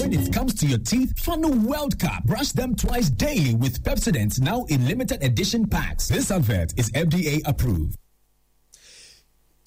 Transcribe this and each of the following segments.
When it comes to your teeth, Funnel World Cup. Brush them twice daily with Pepsodent now in limited edition packs. This advert is FDA approved.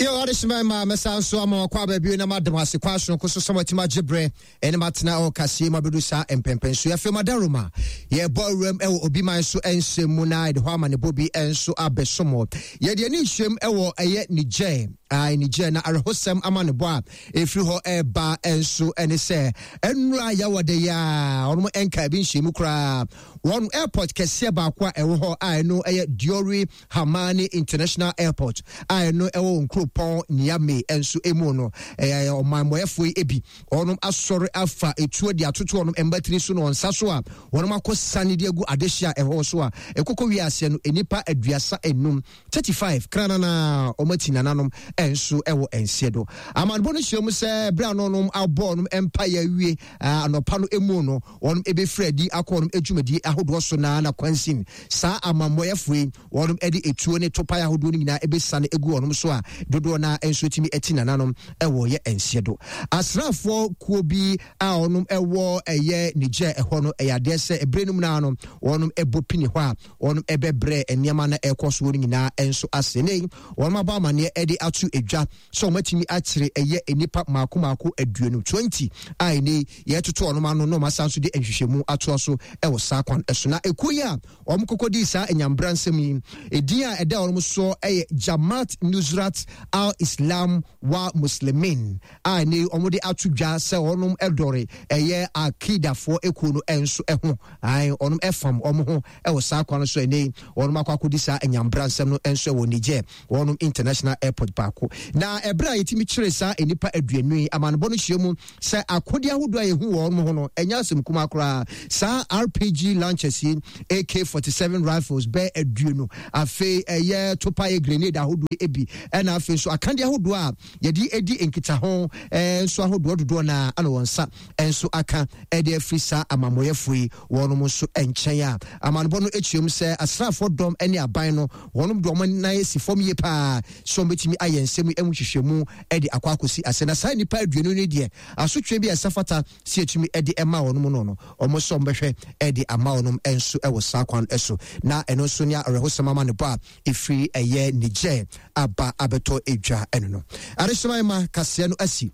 Yo, adehyema ma mɛsan so ama wakɔ aba bio na madam ase kwan sononko so sɛ matumi agye berɛ ɛne matena ɛwɔ kaseɛ mu abɛdu saa mpɛmpɛn so yɛafei madaroma yɛbɔ awuram ɛwɔ obi man so nsɛm mu na yɛde hɔ amanebɔ bi nso abɛsom yɛde ani nhyɛm ɛwɔ ɛyɛ Niger Niger na awerɛhosɛm amanebɔ a ɛfiri hɔ ɛreba nso ɛne sɛ ɛnura yɛwɔ de yɛ a wɔn nka ebi nhyɛmu koraa wɔn airport kɛseɛ baako a ɛwɔ hɔ a ɛno ɛyɛ Diori Hamani International Airport a ɛno ɛwɔ wɔn kuropɔn Niamey nso emu no ɛyɛ ɔmanmɔyɛfoɔ yi ebi wɔn asɔre afa etuo de atoto wɔn mbatiri so na wɔn nsa so a wɔn akɔ sani de agu adehye a ɛwɔ so a ɛkoko wiase no nnipa 35 35 kranana wɔn ati nananom nso wɔ nseɛ do. Amanebɔ no hyerɛ mu sɛ berɛ a wɔnom abɔ wɔn mpaeɛ awie anɔpa no mu no, wɔn bɛfiri adi akɔ wɔn adwumadie ahodoɔ so na na kwansin saa amammɔyɛfoɔ yi wɔn de etuo ne topae ahodoɔ no nyinaa ɛbɛsiane agu wɔn so a dodoɔ no nso tumi ati nananom wɔ yɛ nseɛ do. Asraafoɔ kuo bi a wɔn wɔ ɛyɛ Niger ɛhɔ no ɛyɛ adeɛ sɛ ɛberɛ no mu no wɔn bɔ pini hɔ a wɔn bɛbrɛ nneɛma na ɛrekɔ soɔ no nyinaa nso ase. Ne wɔn abɔ amaneɛ de ato edwa sɛ wɔn atumi akyere ɛyɛ nnipa mako mako 20, 20 a ɛnɛ yɛtoto wɔn ano na wɔn asan so de nhwehwɛmu atoa so wɔ saa kwan so. Na ekuo yi a wɔn kɔkɔ di saa nyambra nsɛm yi, edin a ɛda wɔn soɔ yɛ Jamaat Nusrat al-Islam wa Muslimin a ɛnɛ wɔn de ato dwa sɛ wɔn dɔre ɛyɛ Al-Qaedafoɔ ekuo no nso ho. Ae, wɔnom fam wɔn ho wɔ saa kwan no so ɛnɛ yi, wɔnom akɔ akɔdi saa anyambra nsɛm no nso wɔ Niger, wɔnom international airport baako. Na ɛberɛ a yɛtumi kyeree saa nnipa 20 yi, amanebɔ no hyia mu sɛ akodeɛ ahodoɔ a yɛhu wɔ wɔnom ho no, ɛnyɛ asɛm kumaa koraa. Saa RPG launchers yi, AK-47 rifles bɛɛ 20, afei ɛyɛ topaeɛ grenade ahodoɔ ebi, ɛna afei nso akadeɛ ahodoɔ a yɛde di nkitaho nso ahodoɔ dodoɔ no ara na wɔn nsa nso aka de afiri saa amammɔyɛfoɔ yi wɔnom nso nkyɛn a amanebɔ no kyerɛ mu sɛ asraafoɔ dɔm ne aban no wɔnom de wɔn nan asi fam yie paa sɛ wɔbɛtumi ayɛ nsɛm yi mu nhwehwɛmu de akɔ akɔsi ase na saa nnipa 20 no deɛ asotwe bi a ɛsɛ fata sɛ yɛtumi de ma wɔnom no no wɔn nso wɔbɛhwɛ de ama wɔnom nso wɔ saa kwan so na ɛno nso ne awerɛhosɛm amanebɔ a ɛfiri ɛyɛ Niger aba abɛtɔ edwa ɛno no adehyema ma kaseɛ no asi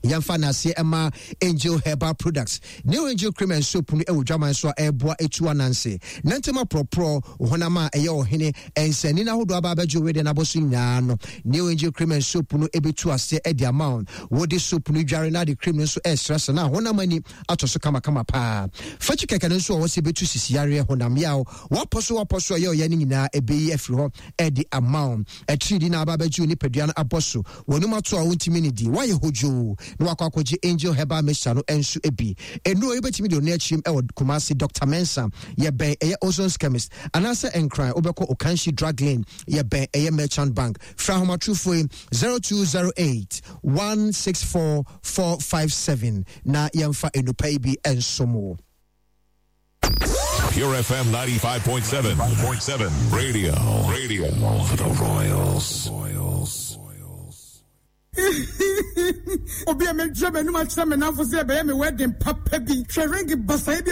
yɛmfa n'aseɛ ɛma Angel Herbal Products. New Angel Cream and Soap no ɛwɔ dwaman so a ɛreboa etu ananse nantɛm aporɔporɔ honam a ɛyɛ ɔhene nsɛnni n'ahodoɔ aba abɛgye wede n'abɔ so nyinaa no. New Angel Cream and Soap no ɛbɛtu aseɛ ɛde ama wɔn. Wode soap no dware na ade cream no nso ɛresrɛsrɛ na honam ani atɔ so kamakama paa. Fakyi kɛkɛ no nso wɔ hɔ sɛ ɛbɛtu sisi yareɛ, honam yaw, wapɔ so wapɔ so ɛyɛ ɔya no nyinaa ɛbɛyi afiri hɔ ɛde ama wo. Atiridi na aba abɛgye wo nipadua no abɔ so, w'anum ato a wontumi nnidi, woayɛ hodwoo na wakɔ akɔgye Angel Herbal Mixture no nso bi. Nnuro yi wobɛtumi de ɔno akyim ɛwɔ Kumasi Doctor Mensah, yɛbɛn ɛyɛ Ozon's Chemist, anaasɛ Nkran wobɛkɔ Okanshi Drug Lane, yɛbɛn ɛyɛ Merchant Bank. Frɛ ahomatorofoɔ yi 0208 164 457 na yɛmfa nnupa yi bi nsom wo. Pure FM 95.7. 5.7. Radio. Radio. For the Royals. Royals. Obi a medwa m'anum akyerɛ me namfo sɛ ɛbɛyɛ me wedding papa bi. Hwɛ ring basae bi a.